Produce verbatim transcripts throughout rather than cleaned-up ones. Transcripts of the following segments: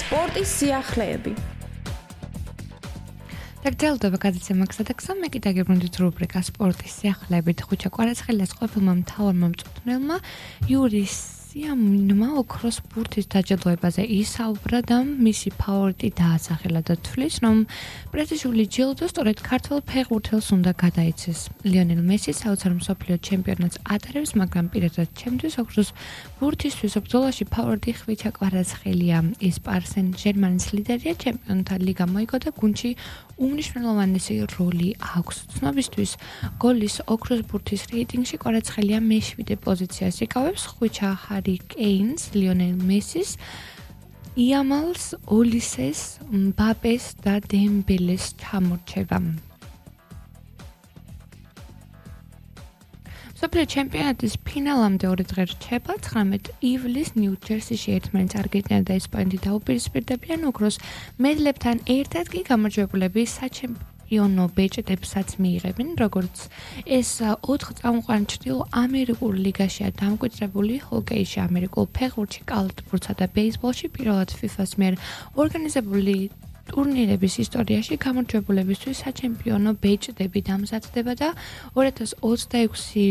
სპორტის სიახლეები. დაგრძელდება გადაცემა გზადაგზა, მე კიდე გებრუნდით რუბრიკა სპორტის სიახლეებით. ხუჩა კვარაცხელიას ყოფილმა მთავარმა მწვრთნელმა იური სიამონმა ოქროს ბურთის დაჯილდოებაზე ისაუბრა და მისი ფავორიტი დაასახელა და თვლის, რომ პრესტიჟული ჯილდო სწორედ ქართველ ფეხბურთელს უნდა გადაიცეს. ლიონელ მესი საოცარ მსოფლიო ჩემპიონატს ატარებს, მაგრამ პირადად ჩემთვის ოქროს ბურთისთვის ბრძოლაში ფავორიტი ხვიჩა კვარაცხელია. ის პარსენ ჟერმანის ლიდერია, ჩემპიონთა ლიგა მოიგო და გუნდში უმნიშვნელოვანესი როლი აქვს. ცნობისთვის, გოლის ოქროს ბურთის რეიტინგში კვარაცხელია მეშვიდე პოზიციას იკავებს, ხვიჩა ჰარი კეინს, ლიონელ მესის, იამალს, ოლისეს, მბაპეს და დემბელეს ჩამორჩება. მსოფლიო ჩემპიონატის ფინალამდე ორი დღე რჩება. ცხრამეტ ივლისს ნიუ-ჯერსიში ერთმანეთს არგენტინა და ესპანეთი დაუპირისპირდებიან. ოქროს მედლებთან ერთად კი გამარჯვებულები საჩემპიონო ბეჭდებსაც მიიღებენ. როგორც ეს ოთხ წამყვან ჩრდილო ამერიკულ ლიგაშია დამკვიდრებული, ჰოკეიში, ამერიკულ ფეხბურთში, კალათბურთსა და ბეისბოლში პირველად ფიფას მიერ ორგანიზებული ტურნირების ისტორიაში გამარჯვებულებისთვის საჩემპიონო ბეჭდები დამზადდება და ორი ათას ოცდაექვსი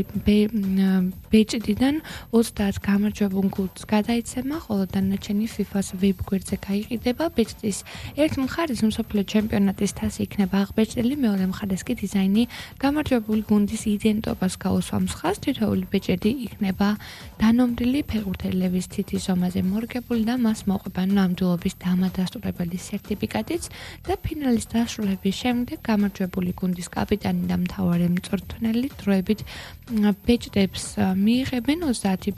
ბეჭდიდან ოცდაათ გამარჯვებულ გუნდს გადაიცემა, ხოლო დანარჩენი ფიფას ვებგვერდზე გაიყიდება. ბეჭდის ერთ მხარეს მსოფლიო ჩემპიონატის თასი იქნება აღბეჭდილი, მეორე მხარეს კი დიზაინი გამარჯვებული გუნდის იდენტობას გაუსვამს ხაზს. თითოეული ბეჭდი იქნება დანომრილი ფეხბურთელების თითის ზომაზე მორგებული და მას მოყვება ნამდვილობის დამადასტურებელი სერტიფიკატი და ფინალის დასრულების შემდეგ გამარჯვებული გუნდის კაპიტანი და მთავარი მწვრთნელი დროებით ბეჭდებს მიიღებენ. ოცდაათი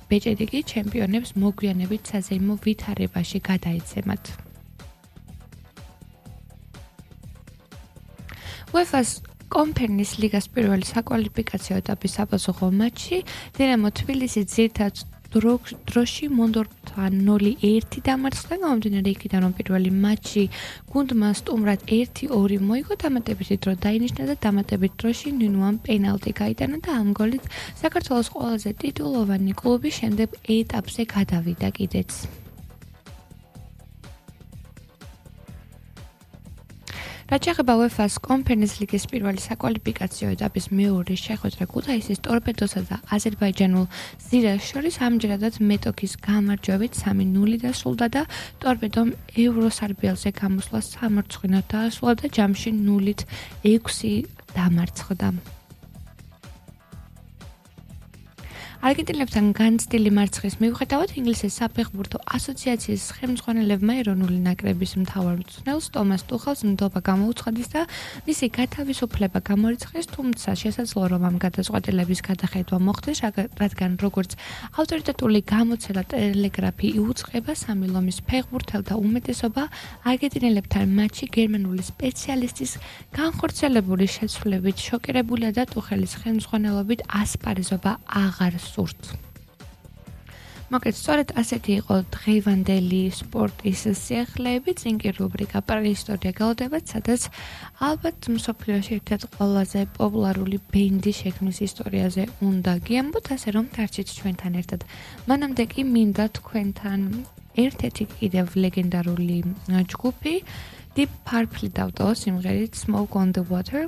ბეჭდი კი ჩემპიონებს მოგვიანებით საზეიმო ვითარებაში გადაეცემათ. უეფას კონფერენციის ლიგას პირველი საკვალიფიკაციო ეტაპის საპასუხო მატჩი დინამო თბილისი ძირითად დროში მონდორფთან ნული ერთი დამარცხდა. გამომდინარე იქიდან, რომ პირველი მატჩი გუნდმა სტუმრად ერთი ორი მოიგო, დამატებითი დრო დაინიშნა და დამატებით დროში ნინუამ პენალტი გაიტანა და ამ გოლით საქართველოს ყველაზე ტიტულოვანი კლუბი შემდეგ ეტაპზე გადავიდა კიდეც. რაც შეეხება უეფას კონფერენციის ლიგის პირველი საკვალიფიკაციო ეტაპის მეორე შეხვედრა ქუთაისის ტორპედოსა და აზერბაიჯანულ ზირას შორის ამჯერადად მეტოქის გამარჯვებით სამი ნული დასრულდა და ტორპედომ ევროსარბიელზე გამოსვლა სამარცხვინოდ დაასრულა და ჯამში ნულით ექვსი დამარცხდა. არგენტინელებთან განცდილი მარცხის მიუხედავად ინგლისის საფეხბურთო ასოციაციის ხელმძღვანელებმა ეროვნული ნაკრების მთავარ მწვრთნელს ტომას ტუხელს ნდობა გამოუცხადეს და მისი გათავისუფლება გამორიცხეს, თუმცა შესაძლოა რომ ამ გადაწყვეტილების გადახედვა მოხდეს, რადგან როგორც ავტორიტეტული გამოცემა ტელეგრაფი იუწყება, სამი ლომის ფეხბურთელთა უმეტესობა არგენტინელებთან მატჩში გერმანული სპეციალისტის განხორციელებული შეცვლილებით შოკირებულია და ტუხელის ხელმძღვანელობით ასპარეზობა აღარ სურთ. მოგეთ, სწორედ ასეთი იყო დღევანდელი სპორტის სიახლეები. წინ კი რუბრიკა პრეისტორია გელოდებათ, სადაც ალბათ მსოფლიოში ერთ-ერთი ყველაზე პოპულარული ბენდის შექმნის ისტორიაზე უნდა გიამბოთ, ასე რომ დარჩით ჩვენთან ერთად. მანამდე კი მინდა თქვენთან ერთ-ერთი კიდევ ლეგენდარული ჯგუფი Deep Purple დავტოვო სიმღერით Smoke on the Water.